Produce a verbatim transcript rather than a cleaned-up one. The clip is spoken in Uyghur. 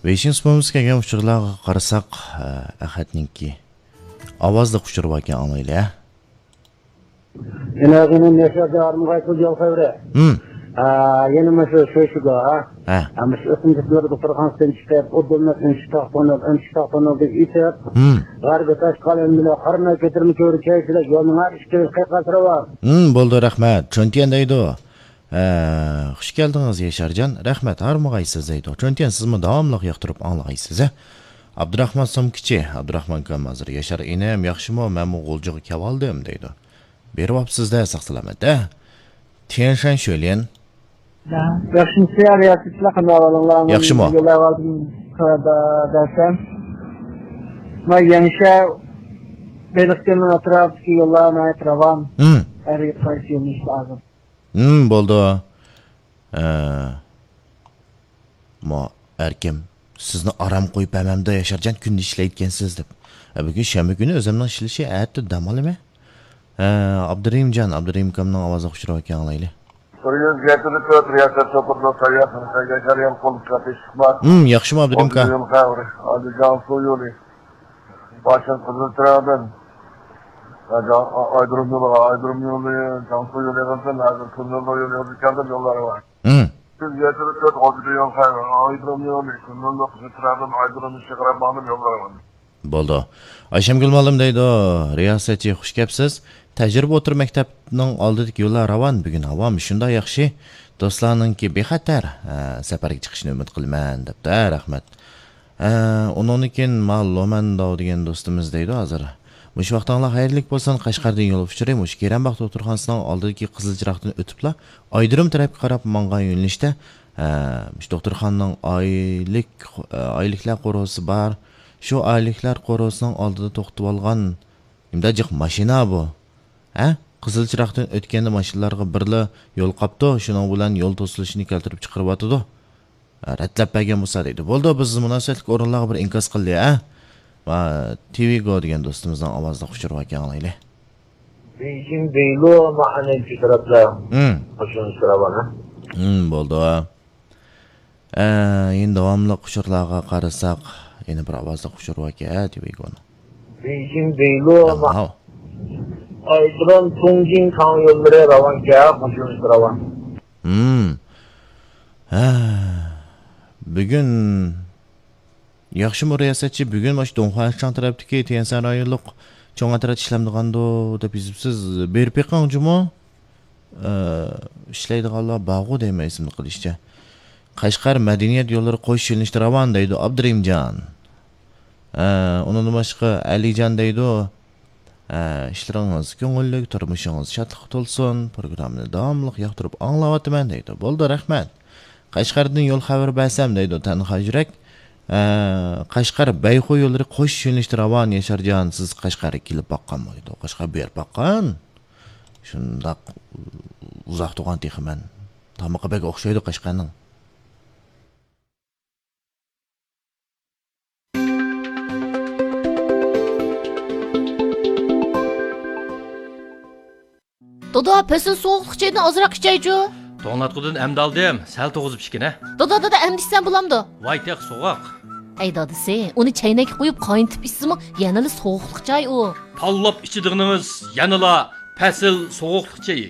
بېيجىڭ سۇپىمىزغا كەلگەن ئۇچۇرلارغا قارىساق، ئە، ئەخەتنىڭكى ئاۋازلىق ئۇچۇرى باركەن، ئاڭلايلى، ھە؟ يەنە يەنە ياشار جارىمغا ئېيتىل يول خەۋىرى. ھىم. ئا، يەنە مۇشۇ شوشىگا، ھە؟ ھە. ھە، مۇشۇ ئۆسۈملۈكلەر دوختۇرخانىسىدىن چىقىپ، ئۇدۇلنى ئۈنچە تاقتونۇل، ئۈنچە تاقتونۇل دەپ ئېيتىپ، ھىم. غەربىي تاشقال ئەمدىلا قارىماي كۆتۈرمە كۆۋرۈك كەيسىلەك يولنىڭ ھەر ئىككى تەرىپى قىيقاس راۋان. ھىم، بولدى، رەھمەت. چۈنتيەن دەيدۇ. ھە، خۇش كەلدىڭىز، ياشارجان. رەھمەت، ھارمىغايسىز دەيدۇ. چۈنتيەن، سىزمۇ داۋاملىق ياقتۇرۇپ ئاڭلىغايسىز، ھە؟ ئابدۇراخمان سومكىچى، ئابدۇراخمان ئاكام ھازىر، ياشار ئىنىم، ياخشىمۇ؟ مەنمۇ غۇلجىغا كېلىۋالدىم دەيدۇ. بېرىۋاپسىز-دە، ساق-سالامەت، ھە؟ تيەنشەن شۆليەن. ياخشىمۇسىز يا رىياسەتچىلەر، قانداق ئەھۋالىڭلار؟ ياخشىمۇ؟ يوللايۋالدىم، دەرسەن. ما يەڭشە بېلىقكۆلنىڭ ئەتراپىدىكى يوللار ناھايىتى راۋان. ھىم. ھەر قايسى يۆنىلىشتە ھازىر. ھىم، بولدى. ئە، ما ئەركىم، سىزنى ئارام قويۇپ بەرمەمدۇ، ياشارجان، كۈندە ئىشلەيدىكەنسىز دەپ. ئە، بۈگۈن شەنبە كۈنى ئۆزۈمنىڭ ئىشلىشى، ئەتە دەم ئالىمەن. ئە، ئابدۇرېھىمجان، ئابدۇرېھىم ئاكامنىڭ ئاۋازىغا ئۇچۇرىۋەتكەن ئاڭلايلى. بىر يۈز يەتتە تۆت رىياسەت سوپىدىن ساياھەت قىلىشقا ياشار يول قوللۇق تەپىشلىق بار. ھىم، ياخشىمۇ، ئابدۇرېھىم ئاكا؟ يول خەۋىرى، ئادىل جانسۇ يولى. باشتىن قىزىل چىراغدىن، ئايدۇرۇم يولىغا، ئايدۇرۇم يولى، جانسۇ يولى قىلسۇن، ھازىر كۈنلىرى يولى يولى كەلدى، يوللار بار. ھىم. سىز يەتتە تۆت غوجىدا يول خەير، ئايدۇرۇم يولى، كۈنلىرى قىزىل چىراغدىن، ئايدۇرۇم ئىشىغا قاراپ ماڭدىم، يوللار بار. بولدى. ئايشەمگۈل مۇئەللىم دەيدۇ، رىياسەتچى، خۇش كەپسىز. تەجرىبە ئوتتۇرا مەكتەپنىڭ ئالدىدىكى يوللار راۋان، بۈگۈن ھاۋامۇ شۇنداق ياخشى. دوستلارنىڭكى بىخەتەر، ھە، سەپەرگە چىقىشىنى ئۈمىد قىلىمەن، دەپتۇ، ھە، رەھمەت. ئە، ئۇنىڭدىن كېيىن ما لومەن داۋ دېگەن دوستىمىز دەيدۇ ھازىر. مۇشۇ ۋاقتىڭلار خەيرلىك بولسۇن، قەشقەردىن يول ئۇچۇرى مۇشۇ كېرەمباغ دوختۇرخانىسىنىڭ ئالدىدىكى قىزىل چىراغدىن ئۆتۈپلا ئايدۇرۇم تەرەپكە قاراپ ماڭغان يۆنىلىشتە، ئە، مۇشۇ دوختۇرخانىنىڭ ئايلىك، ئە، ئايلىكلار قورۇسى بار. شۇ ئايلىكلار قورۇسىنىڭ ئالدىدا توختىتىۋالغان نېمىدە جىق ماشىنا بۇ؟ ھە؟ قىزىل چىراغدىن ئۆتكەندە ماشىنىلارغا بىرلا يول قاپتۇ، شۇنىڭ بىلەن يول توسۇلۇشىنى كەلتۈرۈپ چىقىرىۋاتىدۇ. ھە، رەتلەپ بەرگەن بولسا دەيدۇ. بولدى، بىز مۇناسىۋەتلىك ئورۇنلارغا بىر ئىنكاس قىلدى، ھە؟ ما، تىۋىگو دېگەن دوستىمىزنىڭ ئاۋازىدا ئۇچۇرى باركەن، ئاڭلايلى. بېيجىڭ، بېيلو، ماھانەنچى تەرەپلەر. ھىم. قوشۇن سىراۋان، ھە؟ ھىم، بولدى. ئە، يەنە داۋاملىق ئۇچۇرلارغا قارىساق، يەنە بىر ئاۋازلىق ئۇچۇر باركەن، ھە، تىۋىگونىڭ. بېيجىڭ، بېيلو، ماھ-، ئايدىران، تۇڭجىڭ تاڭ يوللىرى راۋانكەن، قوشۇن راۋان. ھىم. ھە. بۈگۈن ياخشىمۇ رىياسەتچى، بۈگۈن مۇشۇ دۇڭخۇەنشاڭ تەرەپتىكى تيەنشەن رايونلۇق چوڭ ئەترەت ئىشلەمدىغاندۇ دەپ يېزىپسىز. بېرىپ بېقىڭ جۇمۇ. ئە، ئىشلەيدىغانلار بارغۇ دەيمەن ئېسىمدە قېلىشىچە. قەشقەر مەدەنىيەت يوللىرى قوش يۆنىلىشتە راۋان دەيدۇ ئابدۇرېھىمجان. ئە، ئۇنىڭدىن باشقا ئەلىجان دەيدۇ. ئە، ئىشلىرىڭىز كۆڭۈللۈك، تۇرمۇشىڭىز شادلىققا تولسۇن. پروگراممىنى داۋاملىق ياقتۇرۇپ ئاڭلاۋاتىمەن دەيدۇ. بولدى، رەھمەت. قەشقەردىن يول خەۋىرى بەرسەم دەيدۇ تەنھا يۈرەك. ئە، قەشقەر بەيخۇ يوللىرى قوش يۆنىلىشتە راۋان ياشارجان. سىز قەشقەرگە كېلىپ باققانمۇ دەيدۇ؟ قەشقەر بېرىپ باققان. شۇنداق ئۇزاق تۇرغان تېخى مەن. تامىقى بەك ئوخشايدۇ قەشقەرنىڭ. دادا، پەسىل سوغۇقلۇق چېيىدىن ئازراق ئىچەيچۇ. توڭلاتقۇدىن ئەمدى ئالدىم، سەل توغۇزۇپ ئىچكىنە. دادا، دادا، ئەمدى ئىچسەم بولامدۇ؟ ۋاي تېخى سوغۇق. ئەي دادىسى، ئۇنى چەينەككە قۇيۇپ قاينىتىپ ئىچسىمۇ يەنىلا سوغۇقلۇق چاي ئۇ. تاللاپ ئىچىدىغىنىڭىز يەنىلا پەسىل سوغۇقلۇق چېيى.